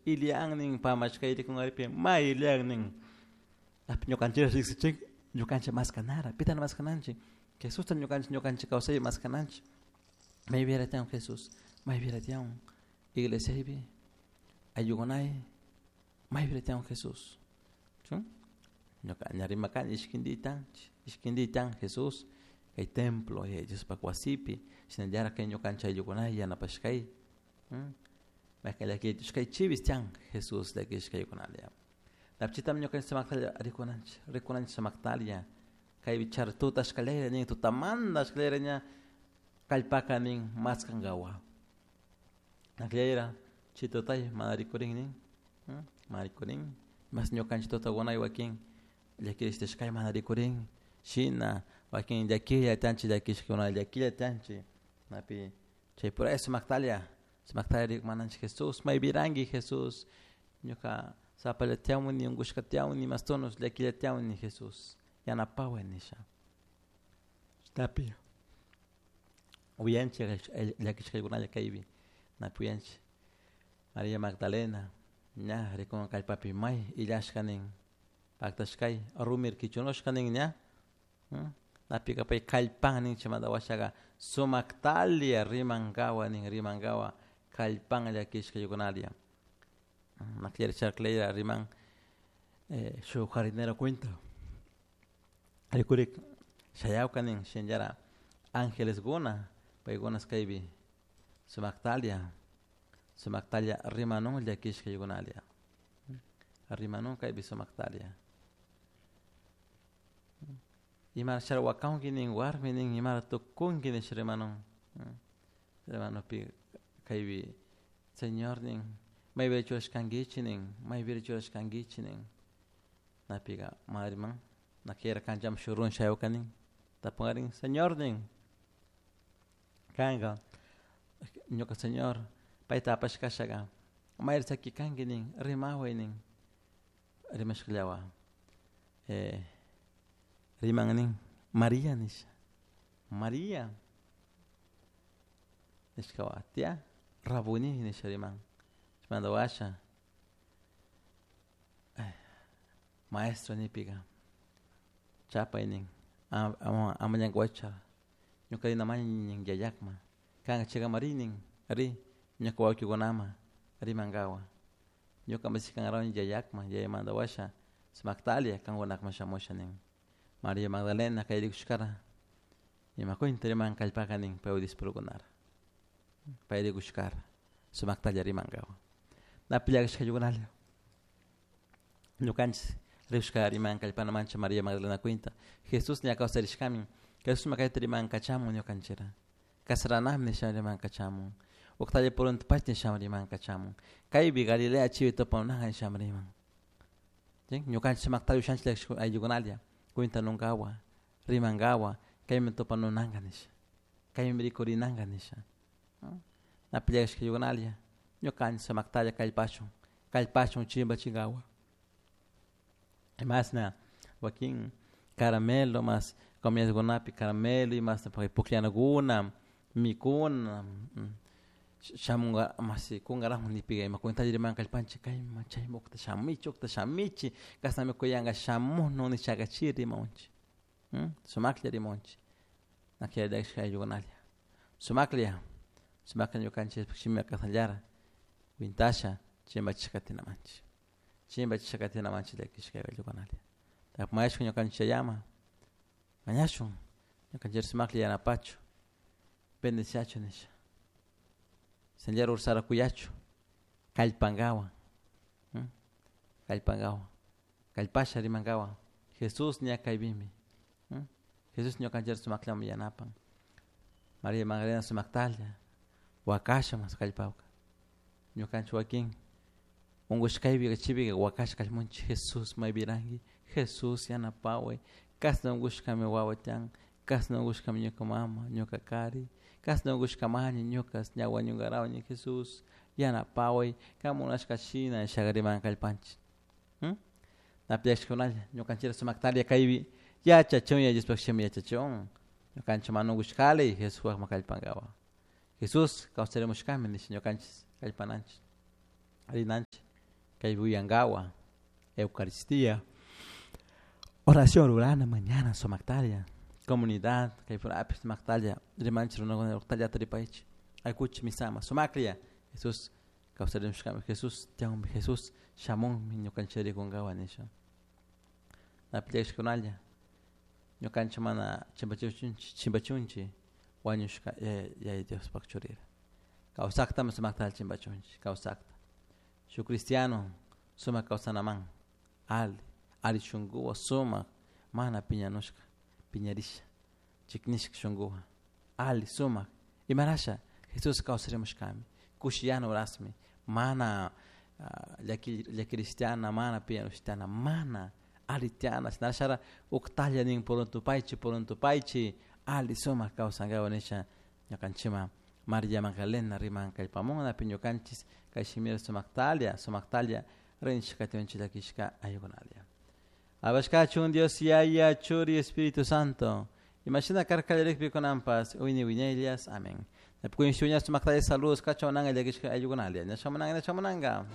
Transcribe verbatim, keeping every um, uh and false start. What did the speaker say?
Ilian pamashkay rikunaripi may ilian ñukanchik riksichik ñukanchik maskanara pitan maskananchik Jesusta ñukanchik ñukanchik kawsay maskananchik maypira tiyan Jesús maypira tiyan iglesiapi ayllukunay maypira tiyan Jesús ñuka ña rimakani ishkinditanchik ishkinditan Jesús kay templo Diospak wasipi shinallara kay ñukanchik ayllukunay yanapashkay maykan llakitushkay chivis tiyan Jesús llakishkaykunalla Napchitam ñukanchik sumaktalla rikunanchik rikunanchik sumaktalla kaypi char tuta ashkallayra nin tutamanta ashkallayra ña kallpaka nin maskankawa akllayra chay tutay mana rikurin nin mana rikurin mas ñukanchik tutakunay wakin llakirishkay mana rikurin shina wakin llakilla tiyanchik llakishkuna llakilla tiyanchik napi chay por eso sumaktalla sumaktalla rikumananchik Jesús maypiranki Jesús ñuka sapalla tiyawni unkushka tiyawni mastonos llakilla tiyawni Jesús yanapaway nisha tapi uyanchik llakishkaykunalla kaypi napi uyanchik Maria Magdalena ña rikun kallpapi may illashka nin paktashkay rumir kichunushka nin ña napika pay kallpan nin chaymanta washaka sumaktalla rimankawa nin rimankawa kallpan llakishkaykunalla nakllari charklayra riman shuk jardinero cuenta rikurik shayawka nin shinallara angeleskuna paykunas kaypi sumaktalla sumaktalla rimanun llakishkaykunalla rimanun kaypi sumaktalla imara sharwakanki nin warmi nin imara tukunki nish rimanun rimanupi kaypi Señor nin maypira churashkankichik nin maypira churashkankichik nin napika mana riman nakira kanchaman shuk runa shayawka nin tapunkarin Señor nin kanka ñuka Señor payta apashkashaka mayri chakikanki nin rimaway nin rimashkallawa eh, riman nin Maria nisha Maria nishkawa tia Rabuni nisha riman chaymanta washa maestro nipika chapay nin ama llankawaychu ñuka rinamani nin yayakma kanka chaykaman ri nin ri ñuka wawkikunaman rimankawa ñuka mashikangarawan yayakma yayamanta washa sumaktalla kankunakman shamusha nin Maria Magdalena kay rikushkara ima cuenta riman kallpaka nin paywan discipulukunara pay rikushkara sumaktalla rimankawa napi llakishkaykunalla ñukanchik rikushka riman kallpanamancha Maria Magdalena cuenta Jesús ña kawsarishkamin Jesús kayta riman kachamun ñukanchikra kasaranami nisha riman kachamun uktalla purunta pacha nisha riman kachamun kaypi Galilea chivi tupanunaka nisha riman ñukanchik sumaktalla ushanchik ayllukunalla cuentanunkawa rimankawa kaymi tupanunanka nisha kaymi rikurinanka nisha napi llakishkaykunalla ñukanchik sumaktalla kallpashun kallpashun chimpachinkawa imasna wakin caramelo mas comidakunapi caramelo imasna pukllanakuna mikuna shamunga masi kungarakun nipika ima cuentalla riman kallpanchik kayman chayman ukta shamichik ukta shamichik kashnami kuyanka shamunun nishaka chi rimawanchik sumaklla rimawanchik naklla ayllukunalla sumaklla sumaklla ñukanchik shimi kasnallara kwintasha chimpachishka katinamanchik chimpachishka katinamanchik llakishka ayllukunalla mañashun ñukanchik yayama mañashun ñukanchik sumaklla yanapachu bendeciachu nisha shinallara ursara kuyachu kallpankawan kallpankawan kallpasha rimankawan Jesús ña kaypimi Jesús ñukanchik sumakllami yanapan Maria Magdalena sumaktalla wakasha mas kallpawka ñukanchik wakin unkushkaypika chipika wakasha kallmunchik Jesús maypiranki Jesús yanapaway kashna unkushkami wawa tiyan kashna unkushkami ñuka mama ñuka kari kashna unkushkamani ñuka ña wañunkarawani Jesús yanapaway kan munashka shina nishaka riman kallpanchik napi llakishkunalla ñukanchikra sumaktalla kaypi yachachun Diospuk shimi yachachun ñukanchik mana unkushkali Jesuspakman kallpankawa Jesús kawsarimushkami nisha ñukanchik kallpananchik rinanchik. Kay uyankawa Eucaristía oración rurana mañana sumaktalla comunidad kay purapish sumaktalla rimanchik runakuna uktallata ripaychik aykuchik misama sumaklla Jesús kawsarimushkami Jesús tiyanmi Jesús shamunmi ñukanchik rikunkawa nisha napi llakishkunalla ñukanchik mana chimpachunchik chimpachunchik wañushka yaya Diospak churira kawsaktami sumaktalla chimpachunchik kawsakta shuk cristiano sumak kawsanaman ali ali shunkuwan sumak mana piñanushka piñarisha chiknishka shunkuwan ali sumak imarasha Jesús kawsarimushkami kushiyana horasmi mana llaki llakirishtiana mana piñanushtiana mana ali tiana shinashara uktalla nin puruntupaychik puruntupaychik ali sumak kawsankapak nisha ñukanchikman María Magdalena riman kallpamun napi ñukanchik kay shimira sumaktalla sumaktalla rinchik katiunchik llakishka ayukunalla. Alabashkachun Dios Yaya, Churi, Espíritu Santo. Imashina karka kallarikpi kunanpas wiñay wiñayllas. Amén. Napi sumaktalla saludos kachamunanga llakishka ayukunalla. Ñashamunanga ñashamunanga.